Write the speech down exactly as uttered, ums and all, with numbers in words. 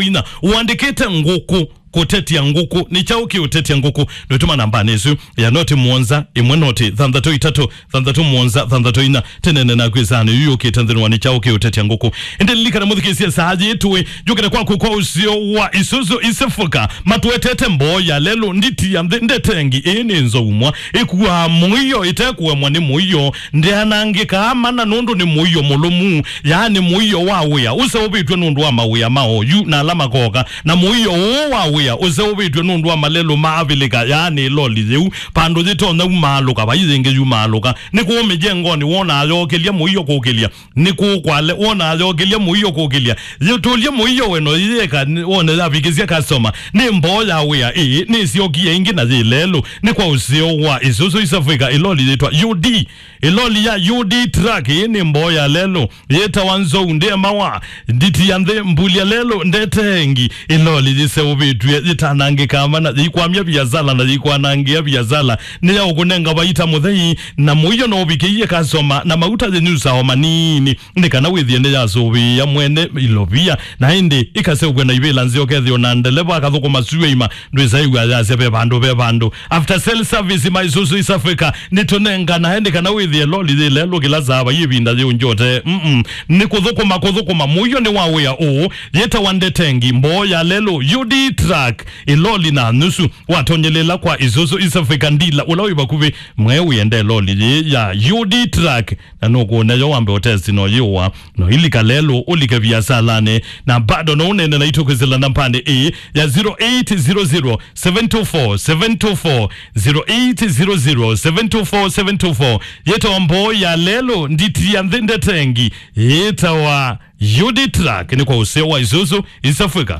inya. Ũandĩkĩte ngũkũ kũtetia ngũkũ. Nĩ kyaũ kĩũtetia ngũkũ? Nũtũma nambanĩ ĩsu ya noti mũonza, ĩmwe noti, thanthatũ itatũ, thanthatũ mũonza, thanthatũ inya. Tũneene naku ĩsaanĩ yu yũkĩte nthĩnĩ wa nĩ kyaũ kĩũtetia ngũkũ. Ĩndĩ lilikana mũthikĩĩsye saa yĩĩ tũĩ, njũkĩte kwaku kwa ũseo wa Isuzu East Africa. Matũetete mboo ya lelũ, nditi ya nthĩ, ndete ngi, ĩĩ nĩ nzou mwa. Ĩkuaa mũio, ĩtekũemwa nĩ mũio. Ndĩanangĩkaa mana nũndũ nĩ mũio mũlũmu, yaani mũio wa wĩa ũseũvĩtw'e nũndũ wa mawĩa ma oyu na ala makoka. Na mũio ũũ wa wĩa ũseũvĩtw'e nũndũ wa malelũ ma avilika, yaani ĩloli yĩu, vandũ yĩtonya umaalũka, vai yĩngĩ yumaalũka. Nĩ kũũ mĩjengonĩ wonaa yokĩlya mũio kũkĩlya? Nĩ kũũ kwale wonaa yokĩlya mũio kũkĩlya? Yĩtũlye mũio we no yĩyĩka nĩ- wone yavikĩsya customer. Nĩ mboo ya wĩa ĩĩ, nĩsyokie ĩngĩ na yĩ lelũ. Nĩ kwa ũseo wa Isuzu East Africa, ĩloli yĩtwa U D. Ĩloli ya U D truck ĩĩ nĩ mboo ya lelũ. Yĩtawa nzou ndĩemawa, nditi ya nthĩ, mbulya lelũ, ndete ngi. Ĩloli yĩseũvĩtw'e, yĩtanangĩkaa mana, yĩikwamya viasala na yĩikwanangĩa viasala. Nĩ ya ũkũnenga vaita mũthei, na mũio no ũvikĩie customer, na mauta yĩnyusaa o manini, nĩ kana wĩthĩe nĩyasũvĩĩa mwene ilovia, na ĩndĩ ĩkaseũvw'a na ivĩla nzeo, kethĩwa na ndeleva akathũkũma syũa ima, ndwĩsaĩw'a yasya ve vandũ, ve vandũ. After sale service ma Isuzu East Africa, nĩtũnenganae nĩ kana wĩthĩe loli yĩ lelũ kĩla saa vai ĩvinda yĩũngyote. Mm-mm. Nĩ kũthũkũma, kũthũkũma. Mũio nĩ wa wĩa ũũ, yĩtawa ndetengi, mboo ya lelũ, U D truck, ĩloli na nusu. Watonyelela kwa Isuzu East Africa dealer ũla wĩ vakuvĩ, mwe wĩende loli yĩ ya U D truck, na nũkũneyo wambe ũtesti no yĩũa, no ilika lelũ, ũlike viasalanĩ, na bado no ũnene na itũkwĩsĩla nambanĩ ĩĩ ya zero eight zero zero, seven two four, seven two four, zero eight zero zero, seven two four, seven two four. Yĩtawa mboo ya lelũ, nditi ya nthĩ ndetengi, yĩtawa U D truck, nĩ kwa ũseo wa Isuzu East Africa.